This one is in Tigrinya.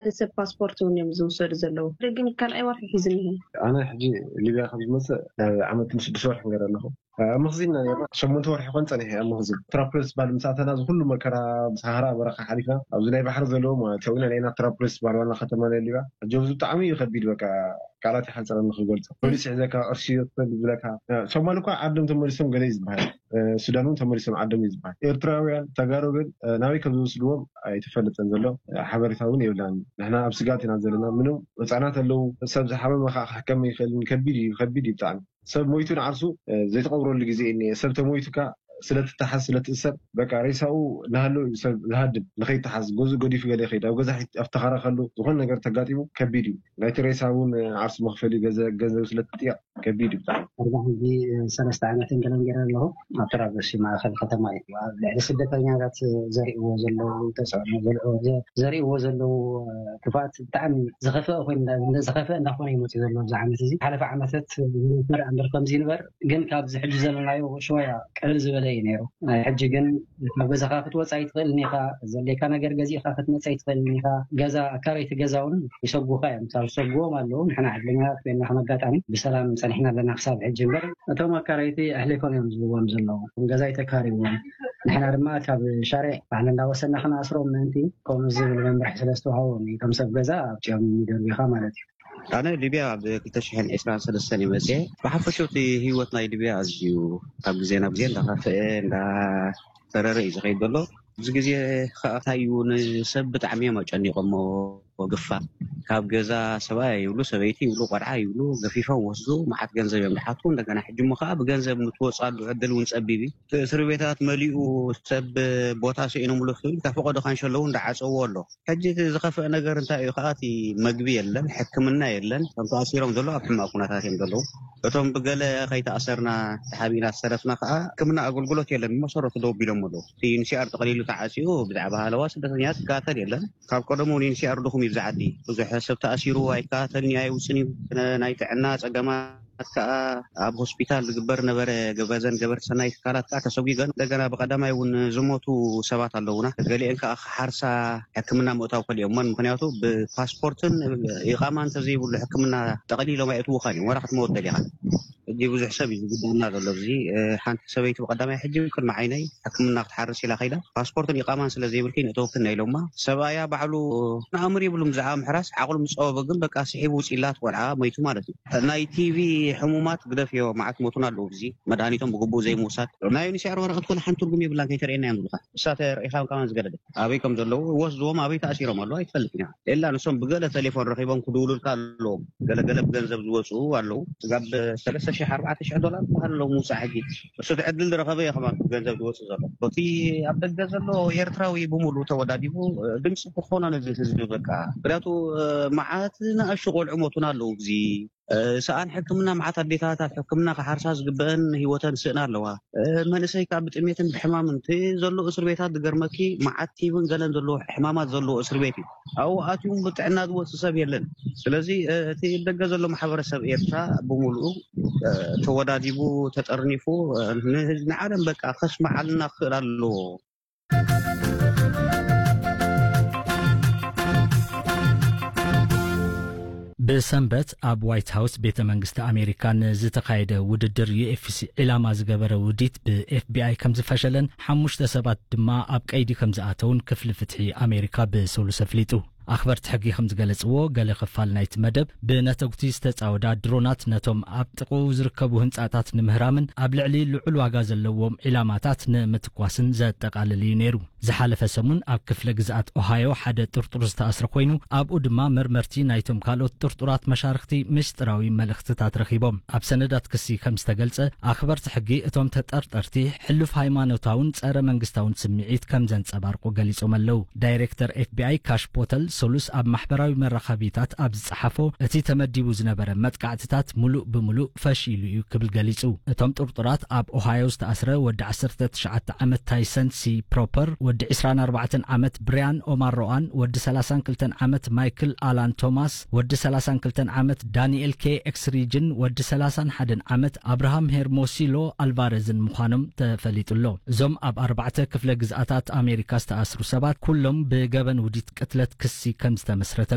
ሰብ ፓስፖርት እውን እዮም ዝውሰዱ ዘለዉ። ግን ካልኣይ ወርሒ ሒዙ እኒሀ። ኣነ ሕጂ ሊብያ ካብ ዝመፅእ ናብ ዓመት ስድስተ ወርሒ ገይረ ኣለኹ። ኣብ መኽዚን ኢና ነርና። ሸሞንተ ወርሒ ኮን ፀኒሐ ኣብ መኽዚን። ትራፕለስ ባል ምስ ኣተና፣ እዚ ኩሉ መከራ፣ ብሰሃራ በረኻ ሓሊፍና ኣብዚ ናይ ባሕሪ ዘለዎ ማለት ሰዊና ናይና ትራፕለስ ባል ዋና ከተማ ናይ ሊብያ። ሕጂ ኣብዚ ብጣዕሚ እዩ ከቢድ፣ በቃ ቃላት ይሓፅረኒ ክገልፆ። ፖሊስ ሒዘካ፣ ቅርሺ ይወስድ ዝብለካ። ሶማል እኳ ዓዶም ተመሊሶም ገለ እዩ ዝበሃል። ሱዳን እውን ተመሊሶም ዓዶም እዩ ዝበሃል። ኤርትራውያን ተጋሩ ግን ናበይ ከም ዝወስድዎም ኣይተፈለጠን ዘሎ ሓበሬታ እውን የብላን። ንሕና ኣብ ስጋት ኢና ዘለና። ምንም ህፃናት ኣለዉ። ሰብ ዝሓመመ ከዓ ክሕከም ይኽእልን ከቢድ እዩ፣ ከቢድ እዩ ብጣዕሚ። ሰብ ሞይቱ ንዓርሱ ዘይተቐብረሉ ግዜ እኒኤ። ሰብ ተሞይቱካ ስለትተሓዝ ስለትእሰር በቃ ሬሳኡ ናሃለዉ እዩ ሰብ ዝሃድም። ንኸይተሓዝ ገዝኡ ገዲፉ ገለ ይኸይድ፣ ኣብ ገዛ ኣፍተኻራ ከሉ ዝኾነ ነገር ተጋጢሙ ከቢድ እዩ። ናይቲ ሬሳ እውን ዓርሱ መኽፈሊ ገንዘብ ስለትጥየቕ ከቢድ እዩ ብጣዕሚ። ኣርባዓ ሕጂ ሰለስተ ዓመት እንገለን ገይረ ኣለኹ። ኣብ ተራበሲ ማእኸል ከተማ እዩ። ኣብ ልዕሊ ስደተኛታት ዘርእዎ ዘለዉ ተፅዕኖ ዘርእዎ ዘለዉ ክፍኣት ብጣዕሚ ዝኸፍአ ኮይኑ ዝኸፍአ እንዳኾነ ይመፅእ ዘሎ ኣብዚ ዓመት እዚ። ሓለፈ ዓመታት ዝነበረ እምበር ከምዚ ይንበር ግን ካብዚ ሕጂ ዘለናዮ ሽወያ ቅልል ዝበለ እዩ ነይሩ። ናይ ሕጂ ግን ካብ ገዛኻ ክትወፅእ ኣይትኽእልን ኢኻ። ዘድልየካ ነገር ገዚእኻ ክትመፅእ ኣይትኽእልን ኢኻ። ገዛ ኣካረይቲ ገዛ እውን ይሰጉኻ እዮም። ካብ ዝሰጉዎም ኣለዉ። ንሕና ዕድለኛታት ኮይና ከም ኣጋጣሚ ብሰላም ፀኒሕና ኣለና ክሳብ ሕጂ እምበር እቶም ኣካረይቲ ኣሕሊፎም እዮም ዝህብዎም ዘለዉ። ገዛ ኣይተካርይዎም። ንሕና ድማ ካብ ሻርዕ ባዕልና እንዳወሰና ክነኣስሮም ምእንቲ ከምኡ ዝብል መምርሒ ስለ ዝተዋሃቦም እዩ። እቶም ሰብ ገዛ ኣብፂኦም ይደርብኻ ማለት እዩ። ኣነ ሊብያ ኣብ ክልተ ሽሕን ዕስራን ሰለስተን እየ መፅየ። ብሓፈሻ እቲ ህይወት ናይ ሊብያ ኣዝዩ ካብ ግዜ ናብ ግዜ እንዳኸፍአ እንዳተረረ እዩ ዝኸይድ ዘሎ። ኣብዚ ግዜ ከዓ እንታይ እዩ ንሰብ ብጣዕሚ እዮም ኣጨኒቖሞ። ግፋ ካብ ገዛ ሰብኣይ ይብሉ ሰበይቲ ይብሉ ቆልዓ ይብሉ ገፊፎም ወስዱ። መዓት ገንዘብ እዮም ድሓቱ። እንደገና ሕጂ እሞ ከዓ ብገንዘብ ንትወፅኣሉ ዕድል እውን ፀቢብ እዩ። እቲ እስሪ ቤታት መሊኡ ሰብ ቦታ ስኢኖምሉ ክብል ካብ ፈቐዶ ካንሸሎ እውን እንዳዓፀዎ ኣሎ። ሕጂ እቲ ዝኸፍአ ነገር እንታይ እዩ ከዓ እቲ መግቢ የለን፣ ሕክምና የለን። እቶም ተኣሲሮም ዘለዉ ኣብ ሕማቕ ኩነታት እዮም ዘለዉ። እቶም ብገለ ከይተኣሰርና ተሓቢእና ዝተረፍና ከዓ ሕክምና ኣገልግሎት የለን። ብመሰረቱ ደው ቢሎም ኣለዉ። እቲ ዩንሲኣር ጠቕሊሉ ተዓፅዩ ብዛዕባ ሃለዋ ስደተኛታት ይከታተል የለን። ካብ ቀደሙ ዩንሲኣር ድኹም እዩ ብዛ ዓዲ። ብዙሕ ሰብ ተኣሲሩ ኣይከታተልን እዩ ኣይውፅን እዩ። ናይ ጥዕና ፀገማት ከዓ ኣብ ሆስፒታል ዝግበር ነበረ። ገበዘን ገበርቲ ሰናይ ትካላት ከዓ ተሰጒገን እንደገና ብቀዳማይ እውን ዝሞቱ ሰባት ኣለውና። ገሊአን ከዓ ክሓርሳ ሕክምና ምእታው ከሊኦሞን ምክንያቱ ብፓስፖርትን ኢቃማ እንተዘይብሉ ሕክምና ጠቕሊሎም ኣየእትውኻን እዮም። ወላ ክትመወት ደሊኻ ሕጂ ብዙሕ ሰብ እዩ ዝጉዳና ዘሎ። እዚ ሓንቲ ሰበይቲ ብቀዳማይ ሕጂ ቅድሚ ዓይነይ ሕክምና ክትሓርስ ኢላ ከይዳ ፓስፖርትን ኢቃማን ስለ ዘይብልኪ ንእተወክን ኢሎማ። ሰብኣያ ባዕሉ ንኣምር ይብሉ ብዛዕባ ምሕራስ ዓቕሉ ምፀወበ ግን በቃ ስሒቡ ውፅኢላት ቆልዓ መይቱ ማለት እዩ። ናይ ቲቪ ሕሙማት ግደፍዮ መዓት ሞቱን ኣለዉ። እዚ መድሃኒቶም ብግቡእ ዘይምውሳድ ናይ ዩኒሴር ወረቐት ኮነ ሓንቲ ትርጉም የብላን ከይተርእየና እዮም ዝብሉካ። እሳ ተረኢኻ ከማን ዝገደደ ኣበይ ከም ዘለዉ ወስድዎም ኣበይ ተኣሲሮም ኣለዉ ኣይትፈልጥን ኢኻ። ኤላ ንሶም ብገለ ቴሌፎን ረኺቦም ክድውሉልካ ኣለዎም። ገለገለ ብገንዘብ ዝወፅኡ ኣለዉ። ስጋብ ሰለስተ ሽሕ ኣርባዕተ ሽሕ ዶላር ዝበሃል ኣለዉ ምውፃእ ሕጂ። እሱ እቲ ዕድል ዝረኸበ እዩ ከማን ብገንዘብ ዝወፅእ ዘሎ። እቲ ኣብ ደገ ዘሎ ኤርትራዊ ብምሉእ ተወዳዲቡ ድምፂ ክኾኖ ነዚ ህዝቢ በቃ። ምክንያቱ መዓት ንኣሽቱ ቆልዑ ሞቱን ኣለዉ። እዚ ሰኣን ሕክምና መዓት ኣዴታት ኣብ ሕክምና ክሓርሳ ዝግበአን ህይወተን ስእና ኣለዋ። መንእሰይ ካብ ብጥሜትን ብሕማምን እቲ ዘሎ እስር ቤታት ዝገርመኪ መዓት ቲብን ገለን ዘለዎ ሕማማት ዘለዎ እስር ቤት እዩ። ኣብኡ ኣትዩን ብጥዕና ዝወፅእ ሰብ የለን። ስለዚ እቲ ደገ ዘሎ ማሕበረሰብ ኤርትራ ብምሉኡ ተወዳዲቡ ተጠርኒፉ ንዓለም በቃ ከስመዓልና ክኽእል ኣለዎ። ብሰንበት ኣብ ዋይት ሃውስ ቤተ መንግስቲ ኣሜሪካ ንዝተኻየደ ውድድር ዩ ኤፍ ሲ ዒላማ ዝገበረ ውዲት ብ ኤፍ ቢ ኣይ ከም ዝፈሸለን ሓሙሽተ ሰባት ድማ ኣብ ቀይዲ ከም ዝኣተውን ክፍሊ ፍትሒ ኣሜሪካ ብሰሉስ ኣፍሊጡ። ኣኽበርቲ ሕጊ ከም ዝገለጽዎ ገለ ክፋል ናይቲ መደብ ብነተጉቲ ዝተጻወዳ ድሮናት ነቶም ኣብ ጥቕኡ ዝርከቡ ህንጻታት ንምህራምን ኣብ ልዕሊ ልዑል ዋጋ ዘለዎም ዒላማታት ንምትኳስን ዘጠቓልል እዩ ነይሩ። ዝሓለፈ ሰሙን ኣብ ክፍለ ግዝኣት ኦሃዮ ሓደ ጥርጡር ዝተኣስረ ኮይኑ ኣብኡ ድማ መርመርቲ ናይቶም ካልኦት ጥርጡራት መሻርኽቲ ምስጢራዊ መልእኽትታት ረኺቦም። ኣብ ሰነዳት ክሲ ከም ዝተገልጸ ኣኽበርቲ ሕጊ እቶም ተጠርጠርቲ ሕሉፍ ሃይማኖታውን ጸረ መንግስታውን ስምዒት ከም ዘንጸባርቁ ገሊጾም ኣለዉ። ዳይሬክተር ኤፍ ቢ ኣይ ካሽ ፖተል ሰሉስ ኣብ ማሕበራዊ መራኸቢታት ኣብ ዝጸሓፎ እቲ ተመዲቡ ዝነበረ መጥቃዕትታት ሙሉእ ብሙሉእ ፈሺሉ እዩ ክብል ገሊጹ። እቶም ጥርጡራት ኣብ ኦሃዮ ዝተኣስረ ወዲ ዓሰርተ ትሽዓተ ዓመት ታይሰን ሲ ፕሮፐር፣ ወዲ ዕስራን ኣርባዕተን ዓመት ብሪያን ኦማር ሮኣን፣ ወዲ ሰላሳን ክልተን ዓመት ማይክል ኣላን ቶማስ፣ ወዲ ሰላሳን ክልተን ዓመት ዳንኤል ኬ ኤክስሪጅን ወዲ ሰላሳን ሓደን ዓመት ኣብርሃም ሄርሞሲሎ ኣልቫረዝን ምዃኖም ተፈሊጡ ኣሎ። እዞም ኣብ ኣርባዕተ ክፍለ ግዝኣታት ኣሜሪካ ዝተኣስሩ ሰባት ኩሎም ብገበን ውዲት ቅትለት ክሲ ከም ዝተመስረተ